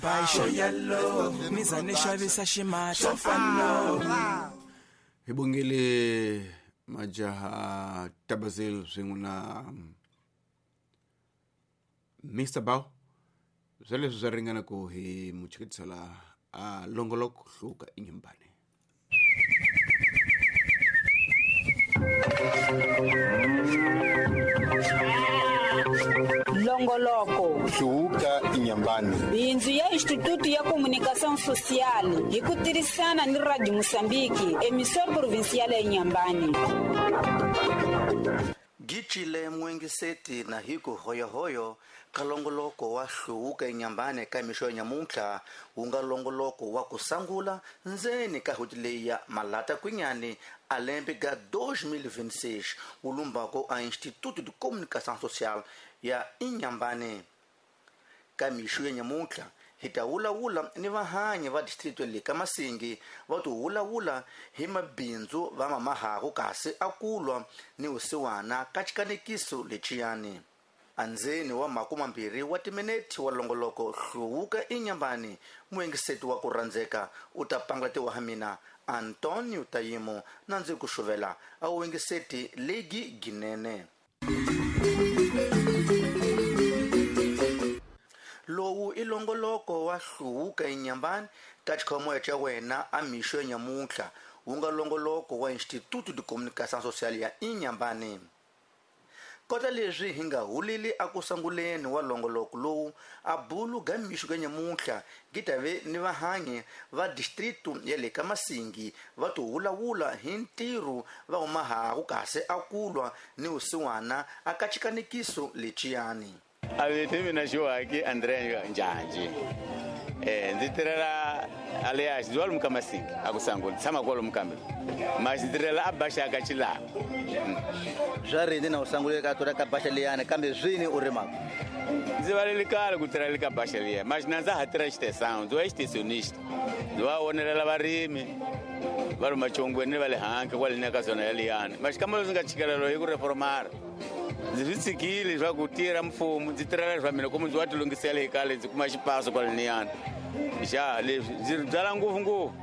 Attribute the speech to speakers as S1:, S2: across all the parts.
S1: Xo ni za ni xavisa ximahla
S2: Hi bongile majaha Tabazil swin'we na Mr Bow. Sweleswo swa ringana ku hi muchiketisela a longoloko hluka inyimbani.
S3: Longoloko
S4: Hluvuka Inyambani.
S3: Bindzu ya Instituto ya Comunicação Social hi ku tirhisana ni Radio Moçambique, emissora provincial ya Inhambane.
S5: Gicile muengiseti na hiku hoyohoyo kalongoloko wa hluvuka Inyambani ka mixo ya nyamuntlha wu nga longoloko wa kusangula ndzeni ka hoti leyi ya Malata Kwinyani a lembe ga 2026 wu lumbako a Instituto de Comunicação Social ya Inhambane. Ka mixo ya nyamuntlha hi ta vulavula ni vahanyi va distrito le ka Masingi va to vulavula hi mabindzu va mamahaku kasi a kulwa ni vusiwana ka xikanekiso lexiyani. Andzeni wa 20 wa timinete wa longoloko hluvuka Inyambani, muengiseti wa ku rhandzeka u ta pangalatiwa ha mina Antonio Tayimo na ndzi ku xuvela a wuengiseti legi ginene. Lowu i longoloko wa hluvuka Inyambani ka xikhomoya xa wena a mixo ya nyamuntlha wu nga longoloko wa Instituto de Comunicação Social ya Inhambane. Kota leswi hi nga huleli a ku sanguleni wa longoloko lowu a bulu ga mixo ka nyamuntlha gi ta ve ni vahanyi va distrito ya le ka Masingi va to vulavula hi ntirho va humahaku kasi a kulwa ni vusiwana a ka xikanekiso lexiyani.
S6: A vito mina Xiwaki Andrea Njanji. Ndzi tirhela Alias ndzi wa lomu ka Masingi a ku sangula tshama kwalomu kambe masi ndzi tirhela a Baxa ka Chilava.
S5: Swa rini na u sangule ka tora ka Baxa liyani kambe swini u rimaka?
S6: Ndzi valeli kale ku tirhela ka Baxa liya masi na ndza ha tirha xitesano ndzi wa xitesionista ndzi va vonelela varimi va ri machongweni va le hansi kwale ni ka zona ya liyani masi kambe ndzi nga tshikelelo hi ku reformara. Ndzi swi tshikile swa ku tirha mfumo ndzi tirhela swa mina kumbe ndzi wa tilunghisela hi kale ndzi kuma xipaso kwale niyani. Xa leswi ndzi byala ngopfungopfu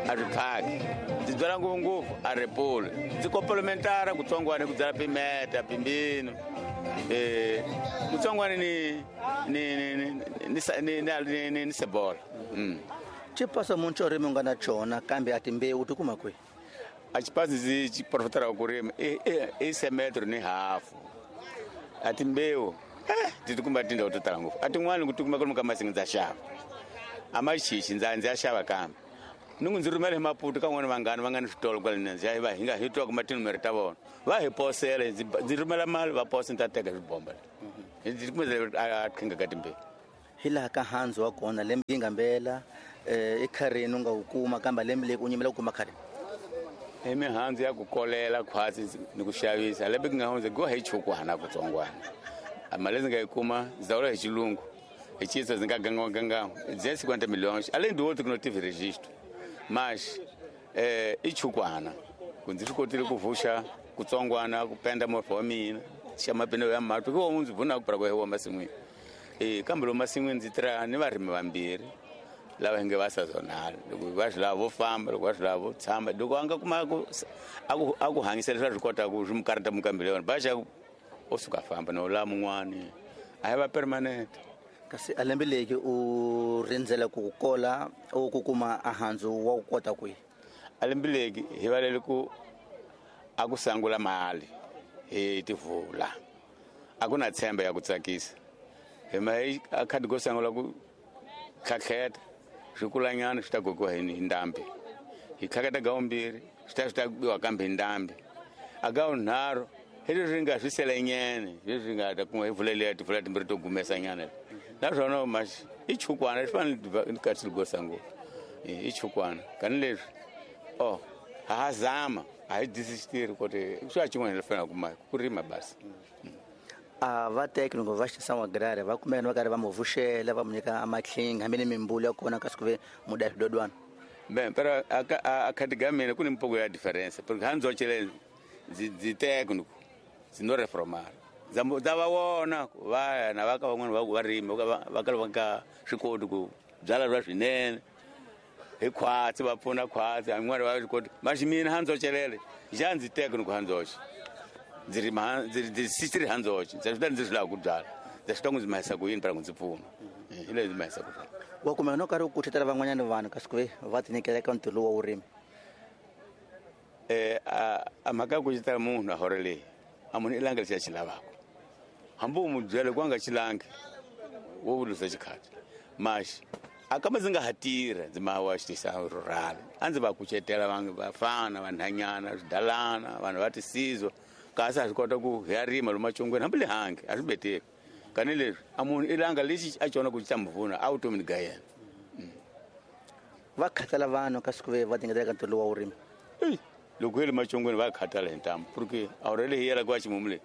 S6: a ri phaki ndzi byala ngopfungopfu a ri puli ndzi komplementara kutsongwana ku byala pimeta pimbino kutsongwana ni sebola.
S5: Xipaso munhu xo rimi u nga na xona kambe a timbewu ti kuma kwihi?
S6: A xipaso ndzi xi profitara ku rima i semetro ni hafu. A timbewu ti tikuma tindhawu to tala ngopfu. A tin'wani ku tikuma kwalomu ka Masingi ndza xava. A maxixi ndza ya xava kambe. Ni ku ndzi rhumela hi Maputo ka n'wana vanghana va nga ni switolo kwale ndzi ya va hi nga hi twa kuma tinumere ta vona. Va hi posela ndzi rhumela mali va posa ndzi ta teka swibomba. Ndzi tikuma a qhinga ka timbewu.
S5: Hi laha ka handzu wa kona lembe yi nga mbela i kharini u nga wu kuma kambe lembe leyi u nyimela ku kuma kharini.
S6: I mihandzu ya ku kolela khwatsi ni ku xavisa lembe ku nga hundza go hi chukwana kutsongwana. A mali ndzi nga yi kuma ndzi hi xilungu hi xisa ndzi nga gangwa 250 milhões além do outro que não tive registro mas i chukwana ku ndzi swi kotile ku vuxa kutsongwana ku penda movha wa mina xa mapindu ya matu ku ndzi vuna ku pra ku wa masin'wini. Kambe lomu masin'wini ndzi tirha ni varimi vambirhi lava hi nge va sazonala loko va swi lava vo famba loko va swi lava vo tshama loko a nga kuma ku a ku hanyisa leswi a swi kotaka swi mu karata mukambele yona baxa o suka famba no lava mun'wani a hi va permanent.
S5: Kasi a lembe leki u rindzela ku kola o ku kuma a handzu wa ku kota kwihi?
S6: A lembe leki hi valele ku a ku sangula mali hi tivula a ku na tshemba ya ku tsakisa hi ma a khadi ko sangula ku tlhatlheta swi kulanyana swi ta gogiwa hi ndhambi hi tlhaketa ga vumbirhi swi ta biwa kambe hi ndhambi a ga vunharhu hi leswi nga swi selenyene leswi nga ta kuma hi vuleliya tivula timbirhi to gumesanyana naswona maxi i chukwana swi fanele kasi gosa ngopfu i chukwana kani leswi o ha zama a hi disisitiri kote swi a xin'wana hi fanele kuma ku rima basi.
S5: A va teki loko va xisa agrari va kumeka va karhi va mu vuxela va mu nyika amatlhinga hambi ni mimbulu ya kona kasi ku ve muda swidodwana.
S6: Ben pero a khadi ga mina ku ni mpoko ya difference porque handzo chele ndzi teka ni ndzi no reformar ndza va vona va na va ka van'wana va rima va ka va nga swi koti ku byala bya swinene hi khwatsi va pfuna khwatsi an'wana va swi koti maxi mina handzocelele xa ndzi teka ni ku handzoxe ndzi rima ndzi sitiri handzoxe ndzi swi ndzi swi lava ku byala ndzi swi tiva ku ndzi mahisa ku yini para ku ndzi pfuna hi leswi ndzi mahisa ku swona.
S5: Wa kumeka no karhi u kucetela van'wanyana vanhu kasi ku ve va tinyikela eka ntirho lowu wa vurimi?
S6: A mhaka ya ku kucetela munhu a hore leyi a munhu i langa lexi a xi lavaka hambi u n'wi byela ku a nga xi langi wo vulusa xikhati maxi a kambe ndzi nga ha tirha ndzi ma wa xitisa rural a ndzi va kucetela vanhu vafana vanhanyana swidalana vanhu va tisizwa kasi a swi kota ku hi ya rima lomu macongweni hambi le hangi a swi beteki kani leswi a munhu i langa lexi a cona ku xi ta mu pfuna a vutomini ga yena.
S5: Va khathala vanhu kasi ku ve va tingetela ka ntirho lowu wa vurimi?
S6: Eyi loko hi le macongweni va khathala hi ntamu porque awurele leyi yela kwa ximumu leyi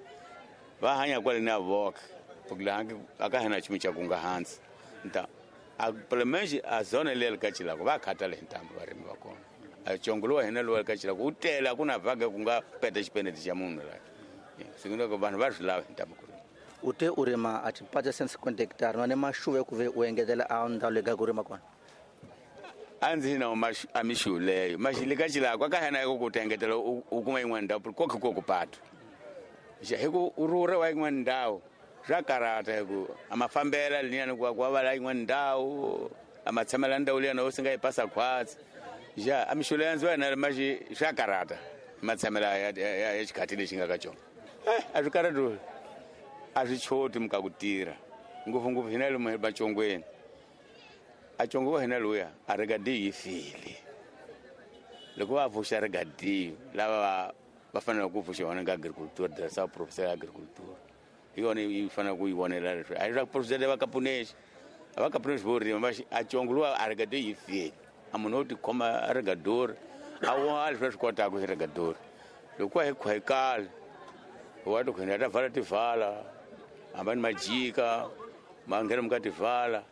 S6: va hanya kwale ni a voka porque le hangi a ka hina nchumu xa ku nga hansi nta a plemexi a zona leyi ka Chilako va khathala hi ntamu varimi va kona a congo lowa hina lowa ka Chilako wu tele a ku na vhaga ku nga peta xipenete xa munhu la siku vanhu va swi lava hi ntamu ku rima.
S5: U te u rima a xipatsa 150 hectare na ne maxuva ku ve u engetela a ndhawu leyi ka ku rima kona?
S6: A ndzi na a mixu leyo maxi le ka Chilako a ka hina ku ta engetela u kuma yin'wana ndhawu koke ko ku patu xa hi ku u rhurha wa yin'wana ndhawu swa karata hi ku a mafambela liyani ku ku va la yin'wana ndhawu a ma tshamela ndhawu liyani o singa yi pasa khwatsi xa a mixu leyo ndzi va na maxi swa karata matshamela ya xikhathi lexi nga ka xona a swi karati a swi choti muka ku tirha ngopfungopfu hina lomu macongweni a congo wa hina luya a rigadi yi file loko va pfuxa rigadi lava va fanele ku pfuxa yona ka agriculture diresa professor ya agriculture hi yona yi fanele ku yi vonela leswi a hi swa professor va kapunexi a va kapunexi vo rima va a congo luwa a rigadi yi file a munhu wo tikhoma a rigadori a wa leswi va swi kotaka hi rigadori loko hi khwekala wa to khwena ta vala tivala hambani majika ma nghena muka tivala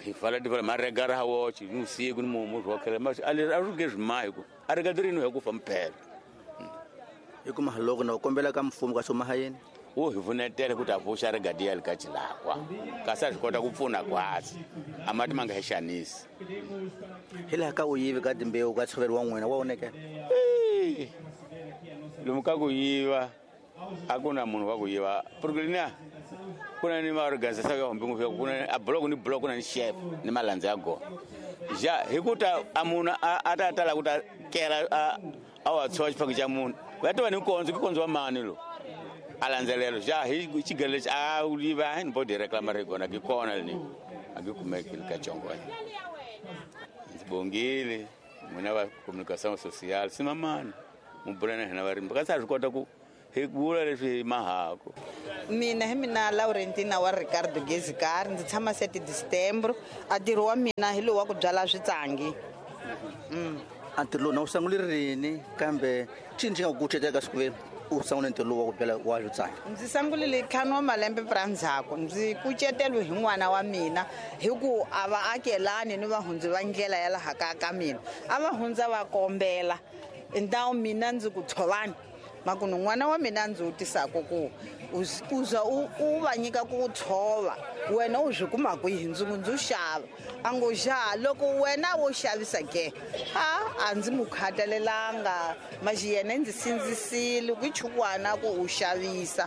S6: hi vala tivala ma rega ra wochi ni usiku ni mumu swo khela ma a leswi a swi nge swi mahi ku a rigadori ni hi ku fa mphela
S5: hi kuma loko na u kombela ka mfumo ka swo yini
S6: wo hi pfunetela ku ta pfuxa rigadi ya le ka Chilakwa kasi a swi kota ku pfuna kwasi a mati ma nga hi xanisi
S5: hi laha ka u yivi ka timbewu ka tshovelo wa n'wina wa onekela
S6: lomu ka ku yiva a ku na munhu wa ku yiva porque na ku na ni maorganisation ya hombi ngopfu ku na a block ni block na ni chef ni malandza ya gona ja hi ku ta a munhu a ta tala ku ta kela a wa tshova xifaki xa munhu va ta va ni kondzo ki kondzo wa mani lo a landzelelo ja hi xigelo lexi a yiva hi ni bodi reclama ri kona ki kona ni a ki kumeki ka congo ndzi bongile n'wina va communication sociale simamani mu bula na hina varimi kasi a swi kota ku hi vula leswi hi mahako.
S7: Mina hi mina Laurentina wa Ricardo Gezikari ndzi tshama 7 December a ntirho wa mina hi lowu wa ku byala switsangi.
S5: A ntirho lowu na wu sungule rini kambe cini xi nga ku kucetela ka siku u sungule ntirho lowu wa ku byala wa switsangi?
S7: Ndzi sungulile ntlhanu wa malembe pra ndzhaku ndzi kuceteriwe hi n'wana wa mina hi ku a va akelani ni vahundzi va ndlela ya laha kaya ka mina a va hundza va kombela ndhawu mina ndzi ku tshovani makunu n'wana wa mina ndzi wu tisaka ku u za u va nyika ku tshova wena u swi kuma kwihi ndzi ku ndzi xava a ngo xa loko wena wo xavisa ke a ndzi mu khatalelanga maxi yena ndzi sindzisile ku chukwana ku u xavisa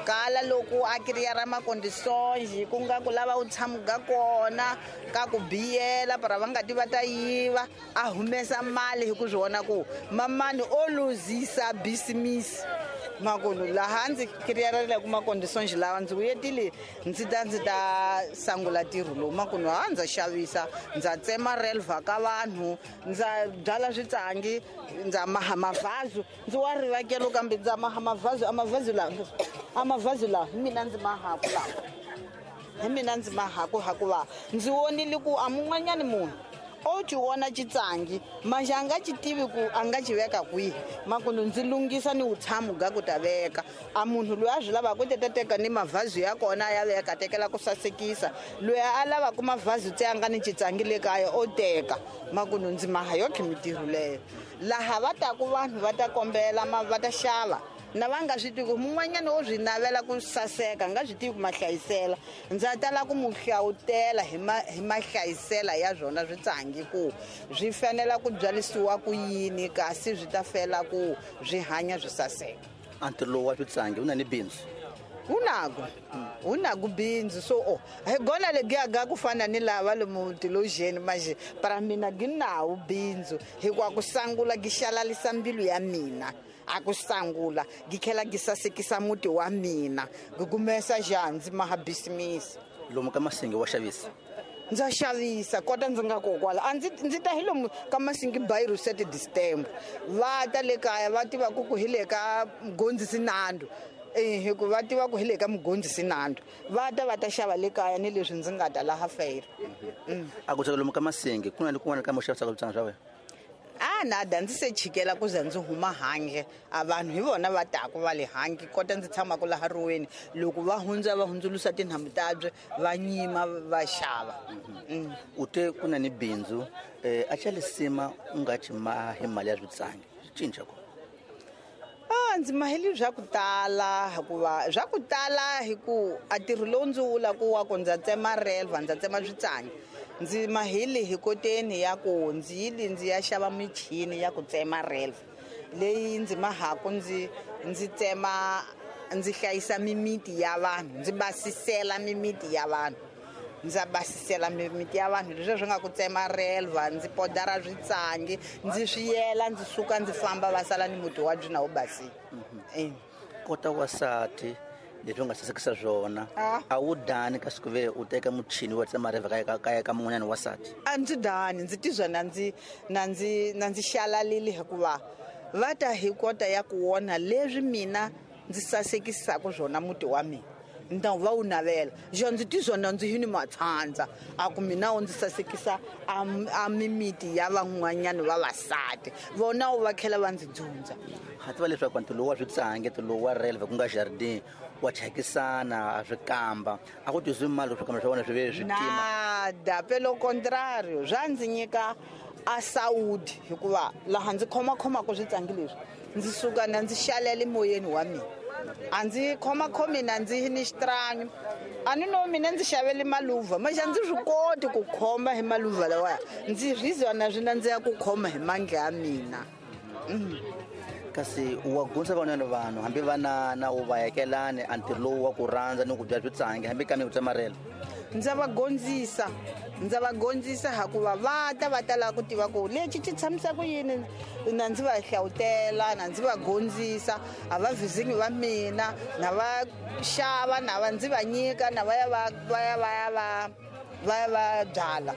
S7: kala loko a kiriya ra makondisonji ku nga ku lava u tshamuga kona ka ku biyela para va nga ti va ta yiva a humesa mali hi ku swi vona ku mamani o luzisa bisimisi makulu laha ndzi kiriyarela ku makondisonji lawa ndzi vuyetile ndzi ta sangula ntirho lowu makulu ha ndza xavisa ndza tsema relva ka vanhu ndza byala switsangi ndza maha mavhazu ndzi wa rivakelo kambe ndza maha mavhazu a mavhazu lawa hi mina ndzi mahaku lawa hi mina ndzi mahaku hakuva ndzi vonile ku a mun'wanyani munhu o ci vona xitsangi maxi a nga xi tivi ku a nga xi veka kwihi makunu ndzi lunghisa ni vutshamo ga ku ta veka a munhu loyi a swi lavaka ku ta teka ni mavhazu ya kona ya veka tekela ku sasekisa loyi a lavaka mavhazu tse a nga ni xitsangi le kaya o teka makunu ndzi maha yo khe mitirho leyo laha va taku vanhu va ta kombela va ta xava Na va nga swi tivi ku mun'wanyana wo swi navela ku saseka nga swi tivi ku mahlayisela. Ndza tala ku mu hlawutela hi mahlayisela ya swona switsangi ku swi fanela ku byalisiwa ku yini kasi swi ta fela ku swi hanya swi saseka.
S5: A ntirho lowu wa switsangi wu na ni bindzu?
S7: Wu naku bindzu so hi gona legiyaga ku fana ni lava lomu tilojeni manje para mina gi nawu bindzu hikuva ku sangula gi xalalisa mbilu ya mina. A ku sangula gi tlhela gi sasekisa muti wa mina gi kumesa xandzi maha bisimisi.
S5: Lomu ka Masingi wa xavisa?
S7: Ndza xavisa kota ndzi nga kokwala a ndzi ta hi lomu ka Masingi by Rosette Distember va ta le kaya va tiva ku hi le ka Mgondzisi Nando. Hikuva va tiva ku hi le ka Mgondzisi Nando va ta xava le kaya ni leswi ndzi nga ta laha fera.
S5: A ku lomu ka Masingi ku na ni kun'wana ka mo xavisaka switsangi swa wena?
S7: A nada ndzi se chikela ku za ndzi huma handle a vanhu hi vona va taku va le handle kota ndzi tshamaka laha ruweni loko va hundza va hundzulusa tinhamu tabye va nyima va xava.
S5: U te ku na ni bindzu a xa lisima u nga ci mahi mali ya switsangi swi cinca ku?
S7: Ndzi maheli swa ku tala hikuva swa ku tala hi ku a ntirho lowu ndzi wula ku wa ku ndza tsema relva ndza tsema switsangi ndzi maheli hi koteni ya ku ndzi yili ndzi ya xava michini ya ku tsema relva leyi ndzi mahaku ndzi tsema ndzi hlayisa mimiti ya vanhu ndzi basisela mimiti ya vanhu. Ndza basisela mimiti ya vanhu leswi swi nga ku tsema relva ndzi podara switsangi ndzi swi yela ndzi suka ndzi famba va sala ni muti wa byi na wu basile.
S5: Kota wasati leswi u nga sasekisa swona a wu dani kasi ku ve u teka muchini wa tsema relva kaya ka mun'wanyana wasati?
S7: A ndzi dani ndzi tizwa na ndzi xalalile hikuva va ta hi kota ya ku wona leswi mina ndzi sasekisaka swona muti wa mina. Nda va wu navela xo ndzi tizwa na ndzi hi ni matshandza a ku mina wu ndzi sasekisa a mimiti ya van'wanyana vavasati vona wu va tlhela va ndzi dzundza.
S5: Ha tiva leswaku ntirho lowu wa switsangi ntirho lowu wa relva ku nga jardin wa chakisana a swi kamba a ku tizwi mali swi kamba swa wena swi ve swi tima?
S7: Nada pelo contrario swa ndzi nyika a saudi hikuva laha ndzi khomakhomaka switsangi leswi ndzi suka na ndzi xalela emoyeni wa mina. A ndzi khomakhomi na ndzi ni xitranyo a ni no mina ndzi xavele maluva maxa ndzi swi koti ku khoma hi maluva lawaya ndzi rizwa na swi nandziha ku khoma hi mandla ya mina.
S5: Kasi wa gundza van'wanyana vanhu hambi vanana u va yekelani a ntirho lowu wa ku rhandza ni ku bya switsangi hambi kambe ku tsemarela?
S7: Ndza va gondzisa hikuva va ta va tala ku tiva ku lexi xi tshamisa ku yini na ndzi va hlawutela na ndzi va gondzisa a va vizingi va mina na va xava na va ndzi va nyika na va ya va ya va ya va va ya va byala.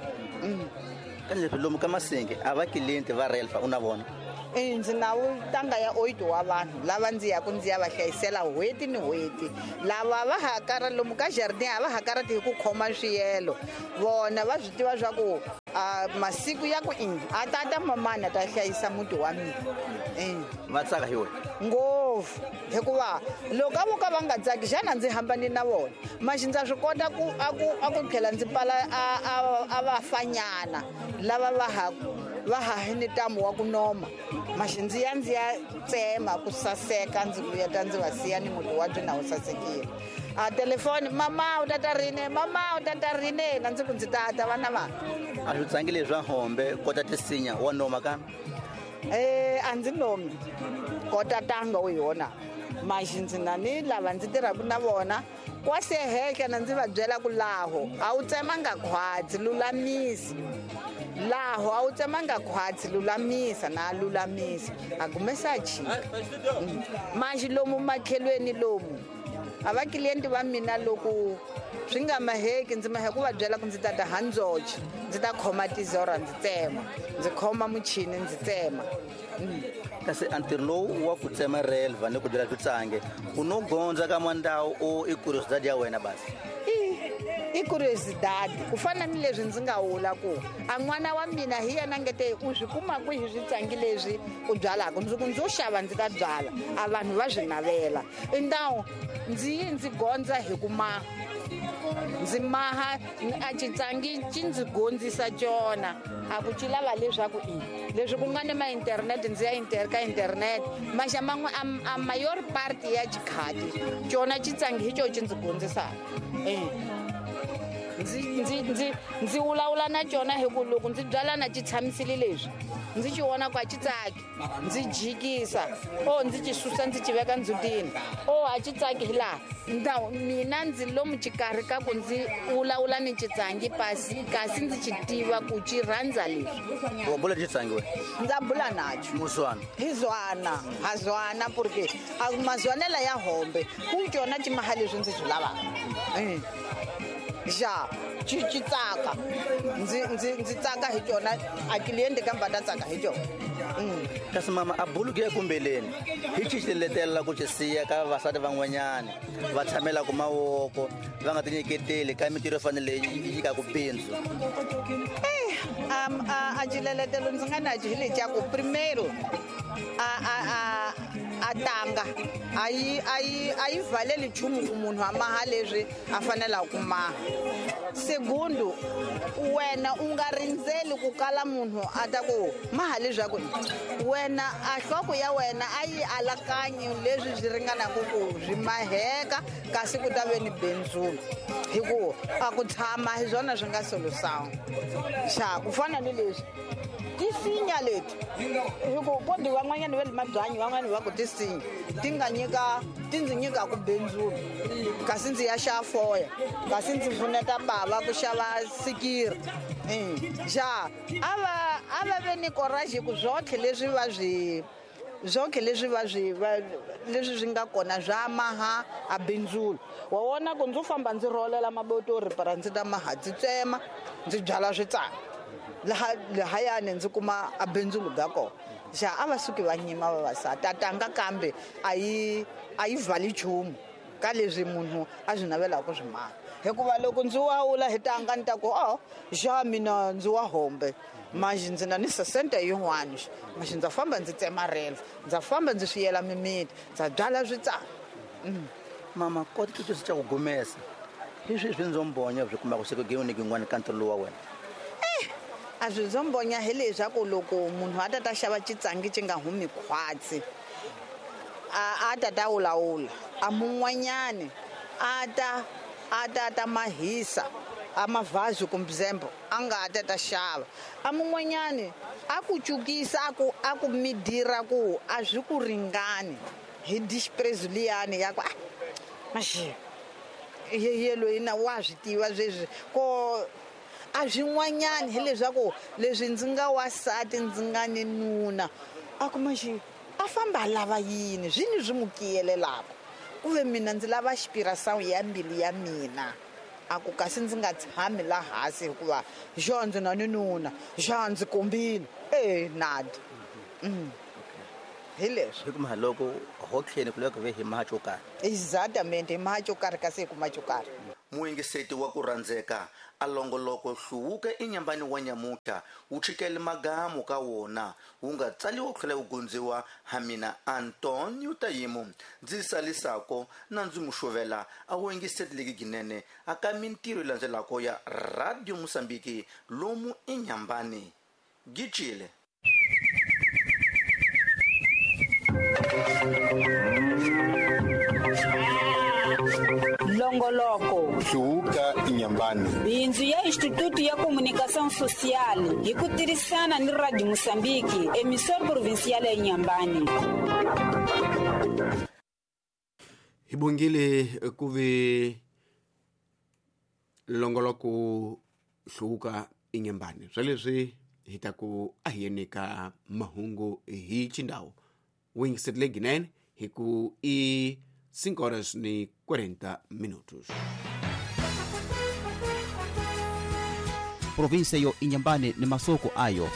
S5: Ka leswi lomu ka Masingi a va client va relva u na vona?
S7: Ndzi na tanga ya 8 wa vanhu lava ndzi yaku ndzi ya va hlayisela n'hweti ni n'hweti lava va hakara lomu ka jardin a va hakarati hi ku khoma swiyelo vona va swi tiva swa ku masiku ya ku a tata mamana ta hlayisa muti wa mina.
S5: Va tsaka hi wena
S7: ngopfu hikuva loko a vo ka va nga tsaki xana ndzi hambani na vona maxi ndza swi kota ku a ku tlhela ndzi pala a vafanyana lava va ha ni ntamu wa ku noma maxi ndzi ya ndzi ya tsema ku saseka ndzi vuya ta ndzi va siya ni muti wa byi na wu sasekile. A telefoni mama u tata rini mama u tata rini na ndzi ku ndzi tata vana va.
S5: A swi tsangi leswa hombe kota tisinya wa noma kambe?
S7: A ndzi nomi kota tanga u yona maxi ndzi na ni lava ndzi tirhaka na vona kwase hehla na ndzi va byela ku laho a wu tsemanga khwatsi lulamisi laho a wu tsemanga khwatsi lulamisa na lulamisa a kumesa chika. Maxi lomu makhelweni lomu a va client va mina loko swi nga maheki ndzi mahe ku va byela ku ndzi tata handzoche ndzi ta khoma tizora ndzi tsema ndzi khoma muchini ndzi tsema.
S5: Kasi a ntirho lowu wa ku tsema relva ni ku byela switsangi u no gondza ka mandawu o i curiosity ya wena basi?
S7: I curiosity ku fana ni leswi ndzi nga wula ku a n'wana wa mina hi yena ngete u swi kuma kwihi switsangi leswi u byalaka ndzi ku ndzi xava ndzi ta byala a vanhu va swi navela i ndawu ndzi yi ndzi gondza hi ku ma Ndzi maha a xitsangi xi ndzi gondzisa cona a ku ci lava leswaku i leswi ku nga ni ma-internet ndzi ya ka internet maxa man'we a mayor part ya xikhati cona xitsangi hi co xi ndzi gondzisaka. Ndzi vulavula na cona hi ku loko ndzi byala na xi tshamisile leswi ndzi xi vona ku a xi tsaki ndzi jikisa o ndzi xi susa ndzi xi veka ndzhutini o a xi tsaki hi laha mina ndzi lomu xikarhi ka ku ndzi vulavula ni xitsangi pasi kasi ndzi xi tiva ku xi rhandza leswi.
S5: Wa bula xitsangi we?
S7: Ndza bula nacho.
S5: Muzwana?
S7: Hi zwana, ha zwana porque a mazwanela ya hombe ku cona xi maha leswi ndzi swi lavaka. Ja, xi tsaka ndzi tsaka hi cona a cliente kambe ta tsaka hi cona.
S5: Kasi mama a buluki ya kumbeleni hi xi letela ku xi siya ka vavasati van'wanyana va tshamela ku mavoko va nga tinyiketeli ka mintirho yo fanele yi nyikaka bindzu.
S7: A xileletelo ndzi nga na hi lexa ku primeiro a tanga a yi valeli nchumu ku munhu a maha leswi a fanelaka ku maha. Segundo, wena u nga rindzeli ku kala munhu a ta ku maha leswaku wena a nhloko ya wena a yi alakanyi leswi swi ringanaka ku swi maheka kasi ku ta ve ni benzulu hi ku a ku tshama hi swona swi nga solution. Xa ku fana ni leswi tisinya leti hi ku kodi van'wanyana va le mabyanyi van'wani va ku tisinya ti nga nyika ti ndzi nyika ku benzulu kasi ndzi ya xava foya kasi ndzi pfuneta bava ku xava sikiri. Xa a va ve ni courage ku zwotlhe leswi va swi zonke leswi va swi leswi swi nga kona swa maha a bindzulu. Wa vona ku ndzi famba ndzi rholela mabotori para ndzi ta maha ndzi tsema ndzi byala switsana laha lahayani ndzi kuma a bindzulu bya kona. Xa a va suki va nyima vavasati a tanga kambe a yi vali nchumu ka leswi munhu a swi navelaka ku swi maha. Hikuva loko ndzi wawula hi tanga ni ta ku o xa mina ndzi wa hombe manje ndzi na ni sesente yin'wana manje ndza famba ndzi tsema relo ndza famba ndzi swiyela mimiti ndza byala switsana.
S5: Mama kota ku twisisa ku gumesa hi swi swindzombonya byi kumaka siku gin'wana gin'wana ka ntirho lowu wa wena.
S7: A swindzombonya hi leswaku loko munhu a ta ta xava xitsangi xi nga humi khwatsi a ta ta wulawula a mun'wanyani a ta ta mahisa a mavhazi kumbe zembo a nga ta ta xava a mun'wanyani a ku cukisa a ku midira ku a swi ku ringani hi disprezo liyani ya ku maxi ye loyi na wa swi tiva sweswi ko a swin'wanyani hileswaku leswi ndzi nga wasati ndzi nga ni nuna a ku maxi a famba a lava yini swini swi n'wi kiyelelaka ku ve mina ndzi lava xipirasawu ya mbilu ya mina a ku kasi ndzi nga tshami la hansi hikuva xo ndzi na ni nuna xa ndzi kombile nadi. Hi leswi
S5: hi kuma loko ho tlheni ku loko ve hi maha xo karhi.
S7: Exactamente hi maha xo karhi kasi hi kuma xo karhi.
S5: Muyingiseti wa ku rhandzeka a longoloko hluvuka enyambani wa nyamutlha wu chikele magamu ka wona wu nga tsaliwa ku tlhela wu gondziwa ha mina Antonio Tayimu ndzi salisako na ndzi muxovela a wu yingiseti leki ginene a ka mintirho yi landzelako ya Radio Mosambiki lomu enyambani gicile.
S3: Longoloko
S4: hluvuka inyambani
S3: bindzu ya Instituto ya Comunicação Social hi ku tirhisana ni Radio Mosambiki emissora provincial ya Inhambane.
S2: Hi bongile ku ve longoloko hluvuka inyambani swa leswi hi ta ku a hi yeni ka mahungu hi xindhawu wingisetile ginene hi ku i 5:40.
S8: Província yo Inhambane ni masoko ayo.